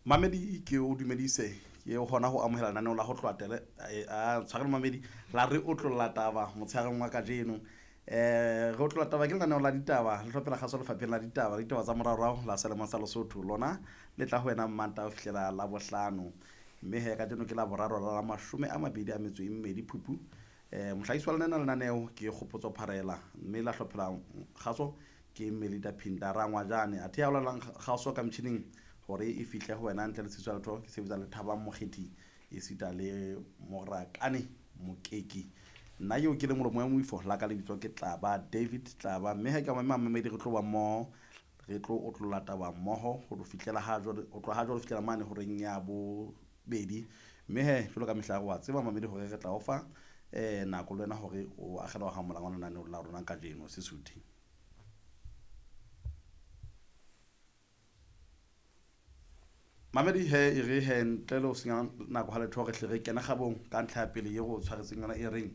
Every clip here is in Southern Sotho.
Mamedi ke o dumedise ke hona ho amohela lenaneo la ho tloha tele a tshwarelo mamedi la re otlolla taba motshegareng wa kajeno. Re otlolla taba ke lenaneo la ditaba le hlophela kgaso lefapheng la ditaba le ditaba tsa moraorao la selemong sa Lesotho. Lona le tla ho wena Mmantaha ho fihlela Labohlano. Mme he kajeno ke Laboraro la 22 Phupu. Mohlahisi wa lena lenaneo ke Kgopotso Pharela mme la hlophela kgaso ke Melita Phinda Rangwajane. Athe ya bolelang kgaso ka metjhining hore e fihle ho wena ntle le tshiso ya letho ke sebetsa le Thabang Mokgethi esita le Morakane Mokeki. Nna eo ke le molomo wa moifo la ka lebitso ke Tlaba David Tlaba. Mme ha ke mamema mamedi re tlo ba mmoho, re tlo otlolla taba mmoho ho fihlela ha jwale, ho tloha ha jwale ho fihlela mane horeng ya bobedi. Mme he jwalo ka mehla wa tseba mamedi hore re tla o fa nako le wena hore o akgele wa hamolang wa lenaneo la rona kajeno Sesotho. Mamedi he e re he ntle le ho senya nako ha letho re hle re kene kgabong ka ntlha ya pele e re o tshwaretseng yona e reng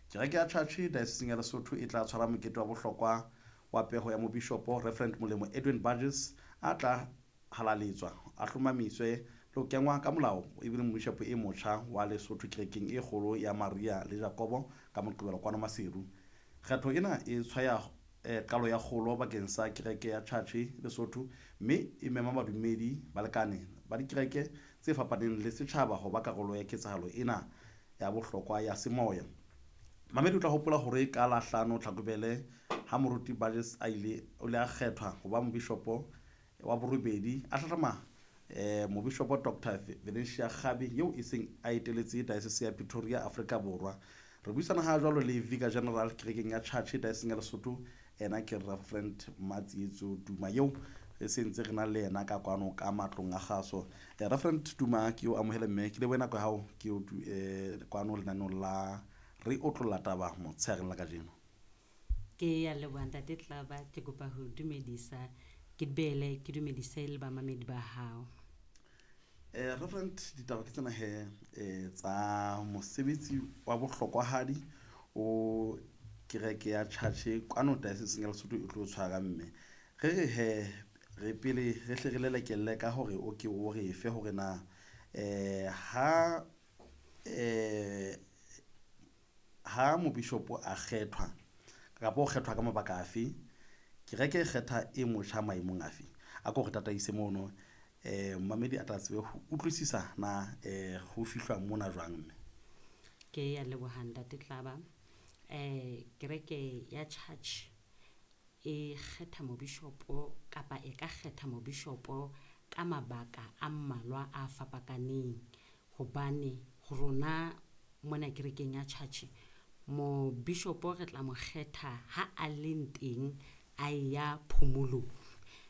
kereke ya Church Diocese ya Lesotho e tla tshwara mokete wa bohlokwa wa peho ya mobishopo Reverend Molemo Edwin Burgess a tla halaletswa a hlomamiswe le ho kengwa ka molao ebile mobishopo e motjha wa Lesotho kerekeng e kgolo ya Maria le Jakobo ka Moqebelo kwano Maseru. Kgetho ena e tshwaya qalo ya kgolo bakeng sa kereke ya Church Lesotho mme e mema badumedi balekane ba dikereke tse fapaneng le setjhaba ho ba karolo ya ketsahalo ena ya bohlokwa ya semoya. Mamedi o tla hopola hore ka la 5 Tlhakubele ha moruti Burgess a ile o le a kgethwa ho ba mobishopo wa borobedi a hlahlama mobishopo Dr Valencia Kgabi eo e seng a eteletse diocese ya Pretoria Afrika Borwa. Re buisana ha jwalo le Vicar General kerekeng ya Church Diocese ya Lesotho ena ke Reverend Matsietso Duma eo re sentse re na le yena ka kwano ka matlong a kgaso. Reverend Duma ke o amohele mme ke lebohe nako ya hao ke o kwano lenaneong la re otlolla taba motshegareng la kajeno. Ke ya leboha ntate Tlaba, ke kopa ho dumedisa ke bele ke dumedise le bamamedi ba hao. Reverend ditaba ke tsena he tsa mosebetsi wa bohlokwahadi o kereke ya Church kwano Diocese ya Lesotho e tlo tshwara mme re re he re pele re hle re lelekelle ka hore o ke o re fe hore na ha ha mobishopo a kgethwa kapa o kgethwa ka mabaka afe, kereke e kgetha e motjha maemong afe? A ko re tataise mono mamedi a tla tsebe ho utlwisisa na ho fihlwa mona jwang mme. Ke ya leboha ntate Tlaba. Kereke ya Church e kgetha mobishopo kapa e ka kgetha mobishopo ka mabaka a mmalwa a fapakaneng hobane rona mona kerekeng ya Church mobishopo re tla mo kgetha ha a leng teng a ya phomolong,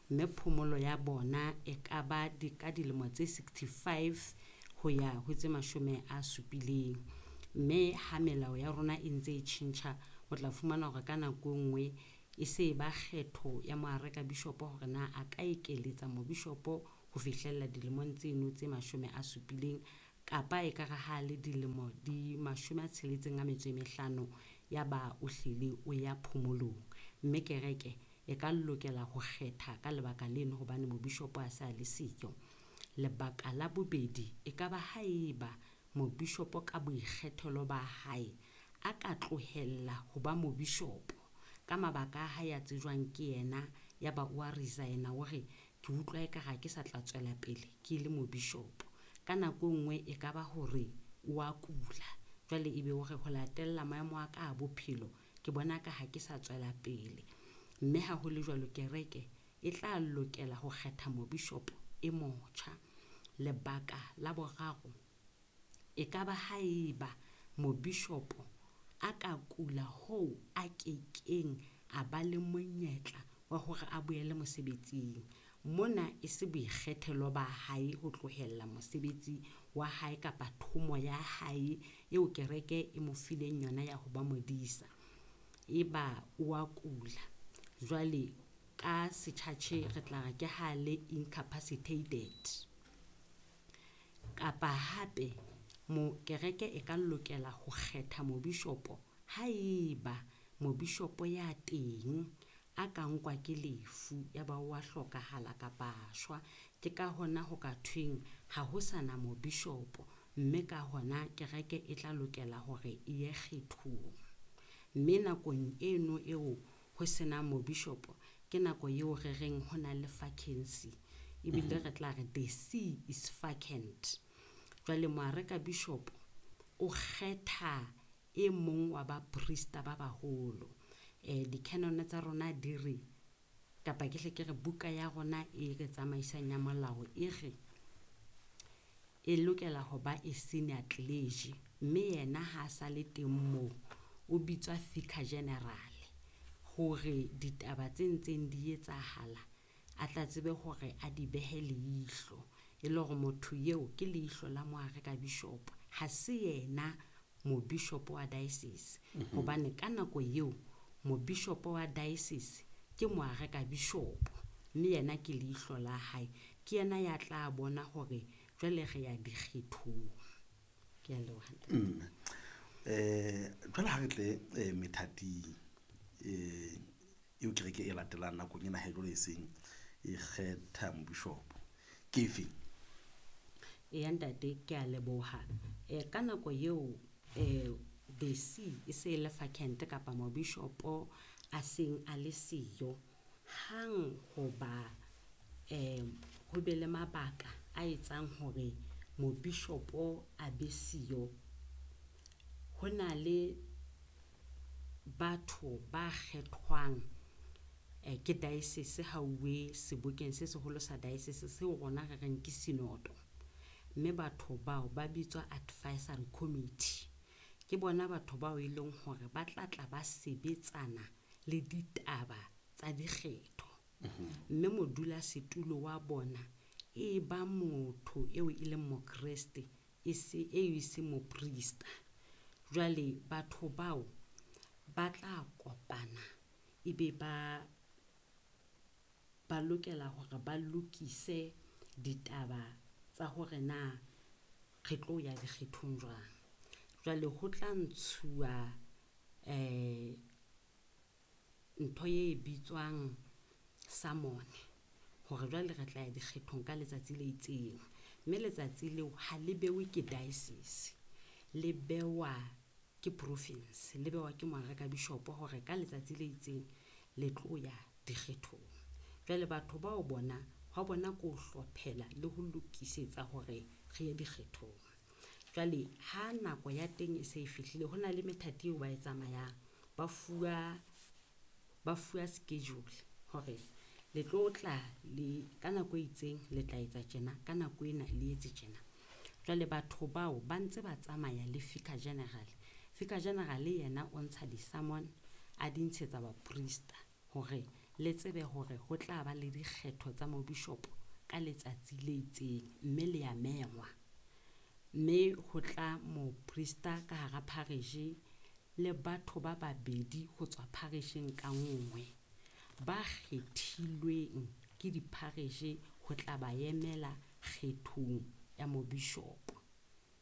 mme phomolo ya bona e ka ba di ka dilemo tse 65 ho ya ho tse 70. Mme ha melao ya rona e ntse e tjhentjha o tla fumana hore ka nako e nngwe e se ba kgetho ya moareka bishopo hore na a ka ekeletsa mobishopo ho fihlella dilemong tseno tse 70 kapa e ka re ha le dilemo di 65 ya ba o hlile o ya phomolong. Mme kereke e ka lokela ho kgetha ka lebaka leno hobane mobishopo a sa le siyo. Lebaka la bobedi e ka ba haeba mobishopo ka boikgethelo ba hae a ka tlohella ho ba mobishopo ka mabaka a hae a tsejwang ke yena, ya ba o a resign-a o re ke utlwa ekare ha ke sa tla tswela pele ke le mobishopo. Ka nako e nngwe e ka ba hore o a kula, jwale ebe o re ho latella maemo a ka a bophelo ke bona ka ha ke sa tswela pele. Mme ha ho le jwalo kereke e tla lokela ho kgetha mobishopo e motjha. Lebaka la boraro e ka ba haeba mobishopo a ka kula hoo a kekeng a ba le monyetla wa hore a boele mosebetsing. Mona e se boikgethelo ba hae ho tlohella mosebetsi wa hae kapa thomo ya hae eo kereke e mo fileng yona ya ho ba modisa. Eba o a kula, jwale ka setjhatjhe re tla re ke ha le incapacitated. Kapa hape mo kereke e ka lokela ho kgetha mobishopo haeba mobishopo ya teng a ka nkwa ke lefu ya ba wa hlokahala kapa a shwa. Ke ka hona ho ka thweng ha ho sa na mobishopo, mme ka hona kereke e tla lokela hore e ye kgethong. Mme nakong eno eo ho senang mobishopo, ke nako eo re reng ho na le vacancy, ebile re tla re the see is vacant. Jwale moareka bishop o kgetha e mong wa baprista ba baholo. Di-canon tsa rona di re, kapa ke hle ke re buka ya rona e re tsamaisang ya molao e re e lokela ho ba e senior clergy, mme yena ha a sa le teng moo o bitswa vicar general hore ditaba tse ntseng di etsahala a tla tsebe hore a di behe leihlo, e le hore motho eo ke leihlo la moareka bishop, ha se yena mobishopo wa diocese. Hobane ka nako eo mobishopo wa diocese ke moareka bishop, mme yena ke leihlo la hae, ke yena ya tla bona hore jwale re ya dikgethong. Ke a leboha ntate. Jwale ha re tle methating eo kereke e latelang nakong ena ha jwale e seng e kgetha mobishopo ke efe? Eya ntate, ke a leboha. Ka nako eo the see e se e le vacant kapa mobishopo a seng a le siyo, hang hoba ho be le mabaka a etsang hore mobishopo a be siyo, ho na le batho ba kgethwang ke diocese ha uwe sebokeng se seholo sa diocese seo rona re reng ke sinoto. Mme batho bao ba bitswa advisory committee. Ke bona batho bao e leng hore ba tla tla ba sebetsana le ditaba tsa dikgetho. Mme modulasetulo wa bona e ba motho eo e leng mokreste, e se e se moprista. Jwale batho bao ba tla kopana ebe ba lokela hore ba lokise ditaba tsa hore na re tlo ya dikgethong jwang. Jwale ho tla ntshuwa ntho e bitswang summon hore jwale re tla ya dikgethong ka letsatsi le itseng. Mme letsatsi leo ha le bewe ke diocese, le bewa ke province, le bewa ke moareka bishop hore ka letsatsi le itseng le tlo ya dikgethong. Jwale batho bao bona hwa bona ke ho hlophela le ho lokisetsa hore re ye dikgethong. Jwale ha nako ya teng e se e fihlile, ho na le methati eo ba e tsamayang, ba fuwa schedule hore le tlo tla le ka nako e itseng le tla etsa tjena, ka nako ena le etse tjena. Jwale batho bao ba ntse ba tsamaya le vicar general. Vicar general yena o ntsha di-summon a di ntshetsa baprista hore le tsebe hore ho tla ba le dikgetho tsa mobishopo ka letsatsi le itseng, mme le ya mengwa. Mme ho tla moprista ka hara parish le batho ba babedi ho tswa parisheng ka nngwe ba kgethilweng ke di-parish ho tla ba emela kgethong ya mobishopo.